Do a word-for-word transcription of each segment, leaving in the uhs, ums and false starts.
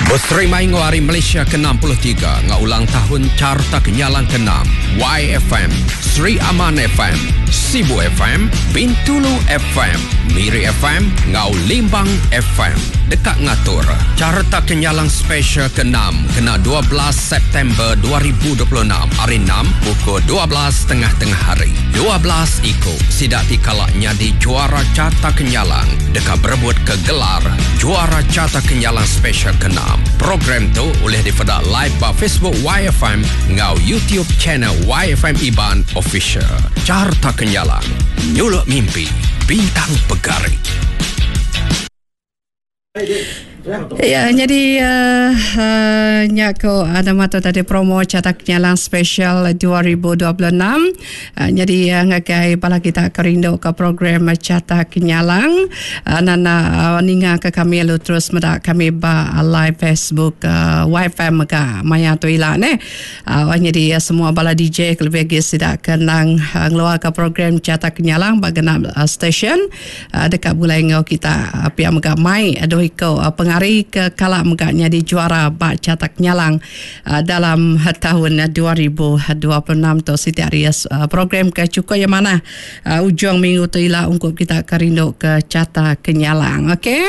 Beserimbai enggau Hari Malaysia ke enam puluh tiga enggau ulang tahun Carta Kenyalang ke enam, Y F M, Sri Aman F M, Sibu F M, Bintulu F M, Miri F M enggau Limbang F M dekat ngatur Carta Kenyalang Special ke enam kena dua belas September dua ribu dua puluh enam hari enam pukul dua belas tengah-tengah hari. dua belas iko sidak dikalak nyadi juara Carta Kenyalang dekat berebut ke gelar juara Carta Kenyalang Special ke enam. Program tu boleh dipeda live ba Facebook Y F M ngau YouTube channel Y F M Iban Official. Carta Kenyalang, nyuluk mimpi, bintang pegari. Ya, jadi uh, uh, nyako ada mata tadi promo Carta Kenyalang Special dua ribu dua puluh enam. Uh, jadi uh, ngagai bala kita kerindu ke program Carta Kenyalang. Uh, nana uh, ninga ke kami lu terus medak kami ba live Facebook uh, Y F M mega maya tu ila ne. Uh, jadi uh, semua bala D J kelebih lagi sidak kenang uh, ngeluar ke program Carta Kenyalang ba genap uh, station uh, dekat bulai ngau kita uh, pia mega mai aduh iko uh, pengari ke kalak megaknya di juara bak Carta Kenyalang uh, dalam tahun dua ribu dua puluh enam tu siti hari uh, program ke cukup yang mana uh, ujung minggu tu ila ungkup kita kerindu ke Carta Kenyalang. Okey.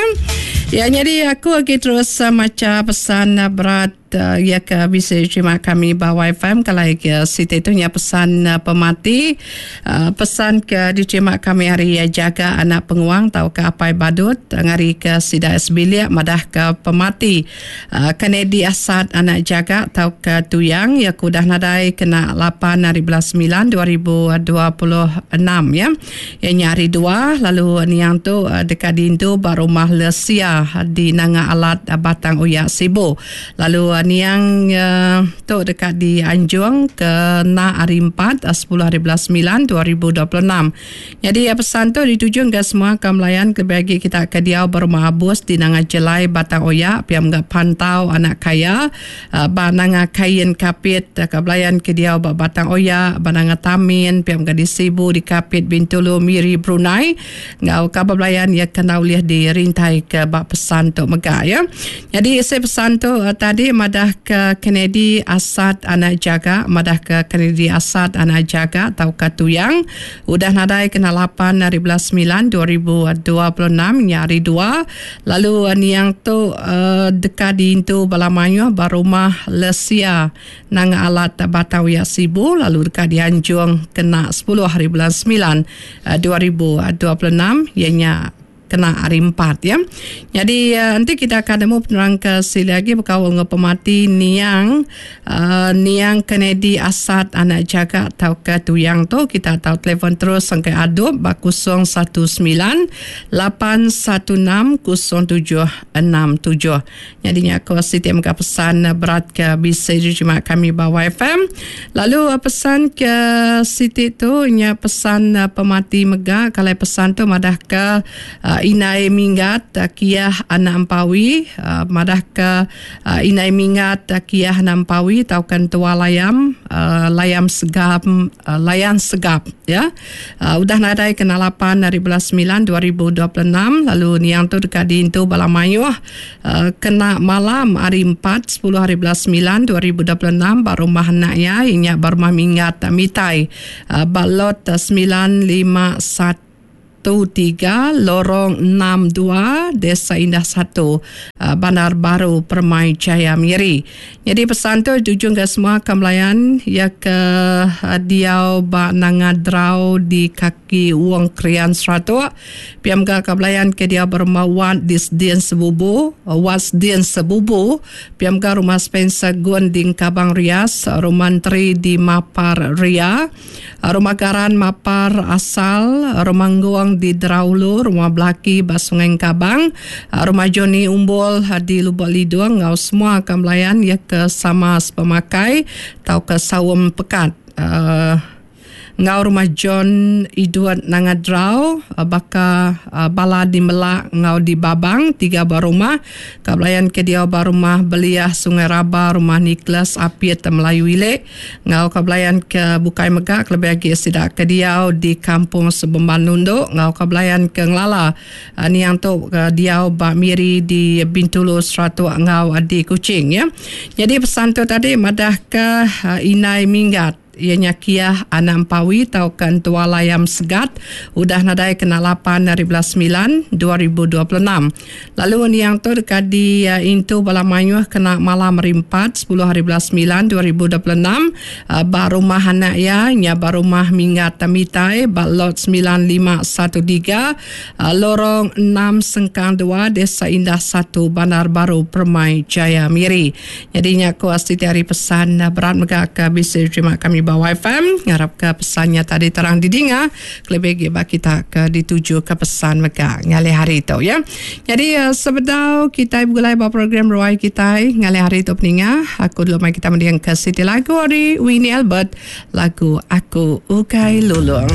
Ya, jadi aku lagi terus uh, maca pesan uh, berat uh, ya ke bisa terima kami ba Y F M kalau ke siti itu nya pesan uh, pemati uh, pesan ke diterima kami hari ya, jaga anak penguang tau ke apai badut ngari ke sida sebilik madah ke pemati uh, Kennedy Asad anak jaga tau ke tuyang ya kudah nadai kena lapan hari bulan sembilan dua ribu dua puluh enam ya. Ya hari dua lalu niang tu uh, dekat dintu ba rumah Lesia di Nanga Alat Batang Oya Sibu. Lalu uh, niang uh, tu dekat di Anjung ke na hari empat sepuluh hari bulan sembilan dua ribu dua puluh enam. Jadi uh, pesan tu dituju ke semua kemelayan kebagi kita ke dia berumah abus di Nanga Jelai Batang Oya piam gak pantau anak kaya uh, ba Nanga Kain Kapit uh, kebelayan ke dia ba Batang Oya ba Nanga Tamin piam gak di Sibu di Kapit Bintulu Miri Brunei ngau kabar belayan ya kena uliah di rintai ke ba pesan tu mega ya. Jadi saya pesan tu uh, tadi madah ke Kennedy Asad anak jaga madah ke Kennedy Asad anak jaga tau ke tuyang udah nadai kena lapan hari bulan sembilan dua ribu dua puluh enam nyari dua lalu uh, niang tu uh, dekat di intu balamanyo barumah Lesia nang alat Batang Oya Sibu lalu dekat di Anjung kena sepuluh hari bulan sembilan dua ribu dua puluh enam ianya kena hari empat ya. Jadi uh, nanti kita akan nemu penerang ke sini lagi berkawal dengan pemati niang uh, niang Kennedy Asad anak jaga atau ke tuyang tu kita tahu telefon terus sampai adub bak kosong satu sembilan lapan satu enam kosong tujuh enam tujuh. Jadi aku Siti mega pesan berat ke bisa diterima kami bawa F M. Lalu pesan ke Siti tu nya pesan pemati mega kalau pesan tu madah ke uh, Inai Minggat Kiah anak Ampawi uh, madah ke uh, Inai Minggat Kiah anak Ampawi taukan tua layam uh, layam segap uh, layan segap ya. Uh, udah nadai kena lapan hari bulan sembilan dua ribu dua puluh enam lalu niang tu dekat di intu Balamayuh uh, kena malam hari empat sepuluh hari bulan sembilan dua ribu dua puluh enam ba rumah anaknya inya ba rumah Minggat Mitai uh, balot sembilan lima satu tiga Lorong enam dua Desa Indah satu Bandar Baru Permai Jaya Miri. Jadi pesan tu tuju ke semua kemelayan ya ke diau ba Nanga Drau di kaki Wong Krian Seratuk. Piam ke kemelayan ke dia berumah Wat Disdien Sebubu, Wat Dien Sebubu, piam ke rumah Spencer Gun di Kabang Rias, rumah Menteri di Mapar Ria, rumah Garan Mapar Asal, rumah Ngguang di Draulu, rumah Belaki ba Sungai Kabang, rumah Joni Umbol di Lubuk Lidung, ngau semua akan melayan ya ke sama sepemakai tau ke sawam pekat. Uh, Enggau rumah John Edward Nanga Drau baka bala di Melak enggau di Babang tiga buah rumah ka belayan ke diau ba rumah Beliah Sungai Raba rumah Nicholas Apit Melayu Ilek enggau ka belayan ke bukai mega kelebih agi sida ke diau di Kampung Sebemban Lundu enggau ka belayan ke ngelala niang tu diau ba Miri di Bintulu Seratok enggau di Kuching ya. Nyadi pesan tu tadi madah ke Indai Minggat iya nya Kiah anak Empawi tauka Entua Layam Segat udah nadai kena lapan hari belas semilan dua ribu dua puluh enam. Lalu niang tu deka di intu bala mayuh kena malam hari empat sepuluh hari belas semilan dua ribu dua puluh enam ba rumah anak iya nya ba rumah Minggat Tamitai ba lot semilan lima satu tiga Lorong enam Sengkang dua Desa Indah satu Bandar Baru Permai Jaya Miri. Jadi nya ku siti hari pesan berat mega ke bisi diterima kami ba Y F M. Ngarap ke pesannya tadi terang didinga kelebih lagi ba kita ke dituju ke pesan mega ngalih hari tu ya. Jadi uh, sebedau kita bergulai ba program Ruai kita ngalih hari tu peninga, aku dulu mai kita mending ke siti lagu ari Winnie Albert, lagu Aku Ukai Lulung.